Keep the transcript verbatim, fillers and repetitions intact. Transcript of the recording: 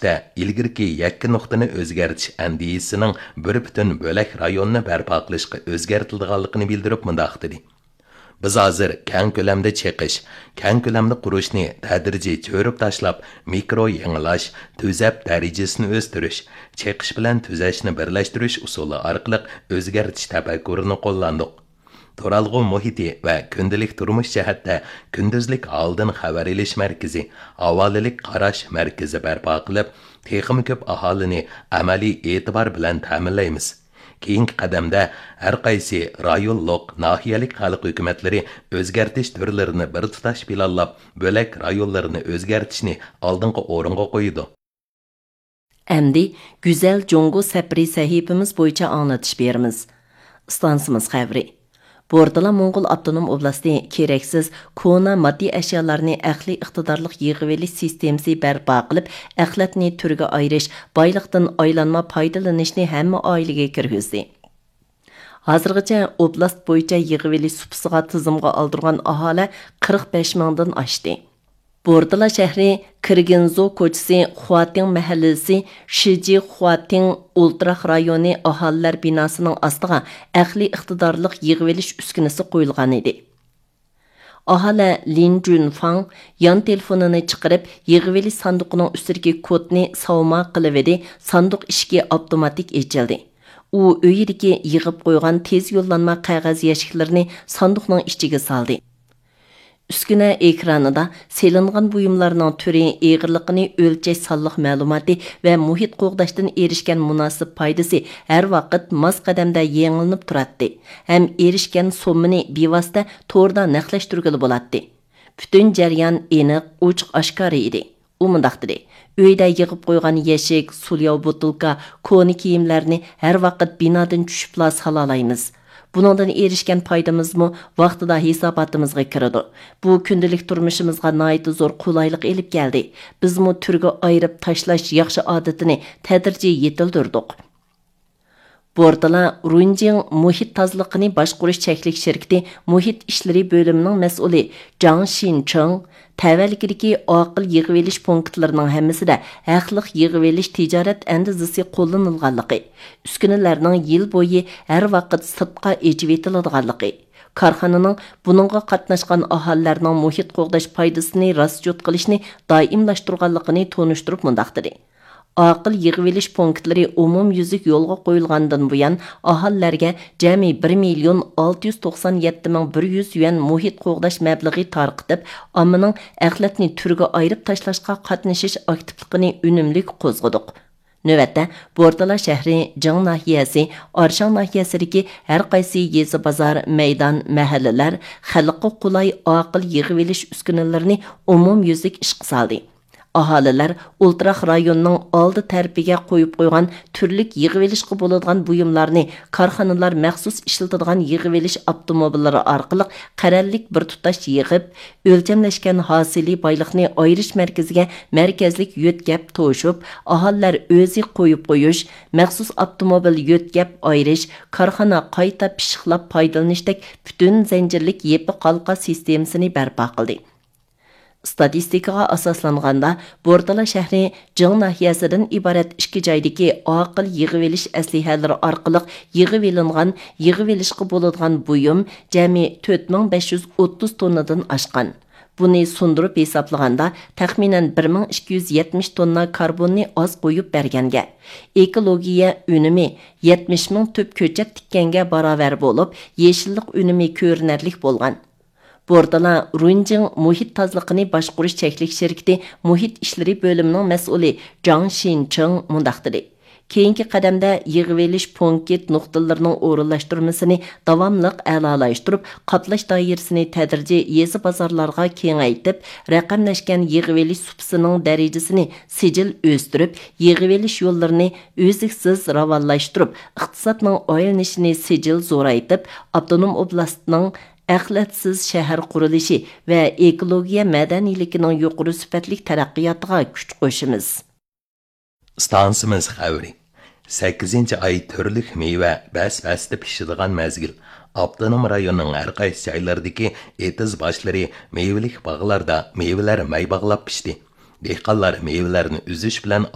تىپتا ئىلگىرىكى يەككە نۇقتىنى ئۆزگەرتىش ئەندىزىسىنىڭ بىر پۈتۈن بۆلەك رايوننى بەرپا قىلىشقا ئۆزگەرتىلىدىغانلىقىنى بىلدۈرۈپ مۇنداق دېدى: بىز ھازىر كەڭ كۆلەمدە چېقىش، كەڭ كۆلەمدە قۇرۇشنى تەدرىجىي چۆرۈپ تاشلاپ، مىكرو يېڭىلاش، تۈزەپ دەرىجىسىنى ئۆستۈرۈش، چېقىش بىلەن تۈزەشنى بىرلەشتۈرۈش ئۇسۇلى ئارقىلىق ئۆزگەرتىش تەپەككۇرىنى قوللاندۇق. تۇرالغۇ مۇھىتى ۋە كۈندىلىك تۇرمۇش جەھەتتە كۈندۈزلۈك ھالدىن خەۋەر ئېلىش مەركىزى، ھاۋالىلىك قاراش مەركىزى بەرپا قىلىپ، تېخىمۇ كۆپ ئاھالىنى ئەمەلىي ئېتىبار بىلەن تەمىنلەيمىز. كېيىنكى قەدەمدە ھەر قايسى رايونلۇق، ناھىيەلىك خەلق ھۆكۈمەتلىرى ئۆزگەرتىش تۈرلىرىنى بىر تۇتاش پىلانلاپ، بۆلەك رايونلىرىنى ئۆزگەرتىشنى ئالدىنقى ئورۇنغا قويىدۇ. ئەمدى گۈزەل جۇڭگو سەپىرى سەھىپىمىز بويىچە ئاڭلىتىش بېرىمىز. ئىستانسىمىز خەۋىرى. بورتالا موڭغۇل ئاپتونوم ئوبلاستى كېرەكسىز كونا ماددىي ئەشيالارنى ئەقلىي ئىقتىدارلىق يىغىۋېلىش سىستېمىسى بەرپا قىلىپ، ئەخلەتنى تۈرگە ئايرىش، بايلىقتىن ئايلانما پايدىلىنىشنى ھەممە ئائىلىگە كىرگۈزدى. ھازىرغىچە ئوبلاست بويىچە يىغىۋېلىش سۇپىسىغا تىزىمغا ئالدۇرغان ئاھالە قىرىق بەش مىڭدىن ئاشتى. بورتالا شەھىرى كىرگىنزو كوچىسى، خۇاتىڭ مەھەللىسى، شىجى خۇاتىڭ ئولتۇراق رايونى ئاھالىلەر بىناسىنىڭ ئاستىغا ئەقلىي ئىقتىدارلىق يىغىۋېلىش ئۈسكۈنىسى قويۇلغانىدى. ئاھالە لىن جۈنفاڭ يان تېلېفونىنى چىقىرىپ، يىغىۋېلىش ساندۇقىنىڭ ئۈستىدىكى كودنى ساۋما قىلىۋىدى، ساندۇق ئىشىكى ئاپتوماتىك ئېچىلدى. ئۇ ئۆيىدىكى يىغىپ قويغان تېز يوللانما قەغەز يەشىكلىرىنى ساندۇقنىڭ ئىچىگە سالدى. ئۈسكۈنە ئېكرانىدا سېلىنغان بۇيۇملارنىڭ تۈرى، ئېغىرلىقىنى ئۆلچەش سانلىق مەلۇماتى ۋە مۇھىت قوغداشتىن ئېرىشكەن مۇناسىپ پايدىسى ھەر ۋاقىت ماس قەدەمدە يېڭىلىنىپ تۇراتتى ھەم ئېرىشكەن سوممىنى بىۋاسىتە توردا نەقلەشتۈرگىلى بولاتتى. پۈتۈن جەريان ئېنىق، ئوچۇق ئاشكارا ئىدى. ئۇ مۇنداق دېدى: ئۆيدە يىغىپ قويغان يەشىك، سۇلياۋ بوتۇلكا، كونا كىيىملەرنى ھەر ۋاقىت بىنادىن چۈشۈپلا سالالايمىز. بۇنىڭدىن ئېرىشكەن پايدىمىزمۇ ۋاقتىدا ھېساباتىمىزغا كىرىدۇ. بۇ كۈندىلىك تۇرمۇشىمىزغا ناھايىتى زور قولايلىق ئېلىپ كەلدى. بىزمۇ تۈرگە ئايرىپ تاشلاش ياخشى ئادىتىنى تەدرىجىي يېتىلدۈردۇق. بورتالا رۇنجىڭ مۇھىت تازىلىقىنى باشقۇرۇش چەكلىك شىركىتى مۇھىت ئىشلىرى بۆلۈمىنىڭ مەسئۇلى جاڭ شىنچىڭ تەۋەلىكىدىكى ئاقىل يىغىۋېلىش پونكىتلىرىنىڭ ھەممىسىدە ھەقلىق يىغىۋېلىش تىجارەت ئەندىزىسى قوللىنىلغانلىقى، ئۈسكۈنىلەرنىڭ يىل بويى ھەر ۋاقىت سىرتقا ئېچىۋېتىلىدىغانلىقى، كارخانىنىڭ بۇنىڭغا قاتناشقان ئاھالىلەرنىڭ مۇھىت قوغداش پايدىسىنى راسچوت قىلىشنى دائىملاشتۇرغانلىقىنى تونۇشتۇرۇپ مۇنداق دېدى: ئاقىل يىغىۋېلىش پونكىتلىرى ئومۇميۈزلۈك يولغا قويۇلغاندىن بۇيان، ئاھالىلەرگە جەمئىي بىر مىليون ئالتە يۈز توقسان يەتتە مىڭ بىر يۈز يۈەن مۇھىت قوغداش مەبلىغى تارقىتىپ، ئاممىنىڭ ئەخلەتنى تۈرگە ئايرىپ تاشلاشقا قاتنىشىش ئاكتىپلىقىنى ئۈنۈملۈك قوزغىدۇق. نۆۋەتتە، بورتالا شەھىرى، جىڭ ناھىيەسى، ئارشاڭ ناھىيەسىدىكى ھەر قايسى يېزا، بازار، مەيدان، مەھەللىلەر خەلققە قولاي ئاقىل يىغىۋېلىش ئۈسكۈنىلىرىنى ئومۇميۈزلۈك ئىشقا سالدى. ئاھالىلەر ئولتۇراق رايوننىڭ ئالدى تەرىپىگە قويۇپ قويغان تۈرلۈك يىغىۋېلىشقا بولىدىغان بۇيۇملارنى كارخانىلار مەخسۇس ئىشلىتىدىغان يىغىۋېلىش ئاپتوموبىللىرى ئارقىلىق قەرەللىك بىر تۇتاش يىغىپ، ئۆلچەملەشكەن ھاسىلى بايلىقنى ئايرىش مەركىزىگە مەركەزلىك يۆتكەپ توشۇپ، ئاھالىلەر ئۆزى قويۇپ قويۇش، مەخسۇس ئاپتوموبىل يۆتكەپ ئايرىش، كارخانا قايتا پىششىقلاپ پايدىلىنىشتەك پۈتۈن زەنجىرلىك يېپىق ھالقا سىستېمىسىنى بەرپا قىلدى. ئىستاتىستىكىغا ئاساسلانغاندا، بورتالا شەھىرى جىڭ ناھىيەسىدىن ئىبارەت ئىككى جايدىكى ئاقىل يىغىۋېلىش ئەسلىھەلىرى ئارقىلىق يىغىۋېلىنغان، يىغىۋېلىشقا بولىدىغان بۇيۇم جەمئىي تۆت مىڭ بەش يۈز ئوتتۇز توننىدىن ئاشقان. بۇنى سۇندۇرۇپ ھېسابلىغاندا، تەخمىنەن بىر مىڭ ئىككى يۈز يەتمىش توننا كاربوننى ئاز قويۇپ بەرگەنگە، ئېكولوگىيە ئۈنۈمى يەتمىش مىڭ تۈپ كۆچەت تىككەنگە باراۋەر بولۇپ، يېشىللىق ئۈنۈمى كۆرۈنەرلىك بولغان. بورتالا رۇنجىڭ مۇھىت تازىلىقىنى باشقۇرۇش چەكلىك شىركىتى مۇھىت ئىشلىرى بۆلۈمىنىڭ مەسئۇلى جاڭ شىنچىڭ مۇنداق دېدى: كېيىنكى قەدەمدە يىغىۋېلىش پونكىت نۇقتىلىرىنىڭ ئورۇنلاشتۇرمىسىنى داۋاملىق ئەلالاشتۇرۇپ، قاپلاش دائىرىسىنى تەدرىجىي يېزا بازارلارغا كېڭەيتىپ، رەقەملەشكەن يىغىۋېلىش سۇپىسىنىڭ دەرىجىسىنى سىجىل ئۆستۈرۈپ، يىغىۋېلىش يوللىرىنى ئۈزلۈكسىز راۋانلاشتۇرۇپ، ئىقتىسادنىڭ ئايلىنىشىنى سىجىل زورايتىپ، ئاپتونوم ئوبلاستنىڭ ئەخلەتسىز شەھەر قۇرۇلۇشى ۋە ئېكولوگىيە مەدەنىيلىكىنىڭ يۇقىرى سۈپەتلىك تەرەققىياتىغا كۈچ قوشىمىز. ئىستانسىمىز خەۋىرى. سەككىزىنچى ئاي تۈرلۈك مېۋە بەس-بەستە پىشىدىغان مەزگىل. ئاپتونوم رايوننىڭ ھەر قايسى جايلىرىدىكى ئېتىز باشلىرى مېۋىلىك باغلاردا مېۋىلەر مەي باغلاپ پىشتى. دېھقانلار مېۋىلەرنى ئۈزۈش بىلەن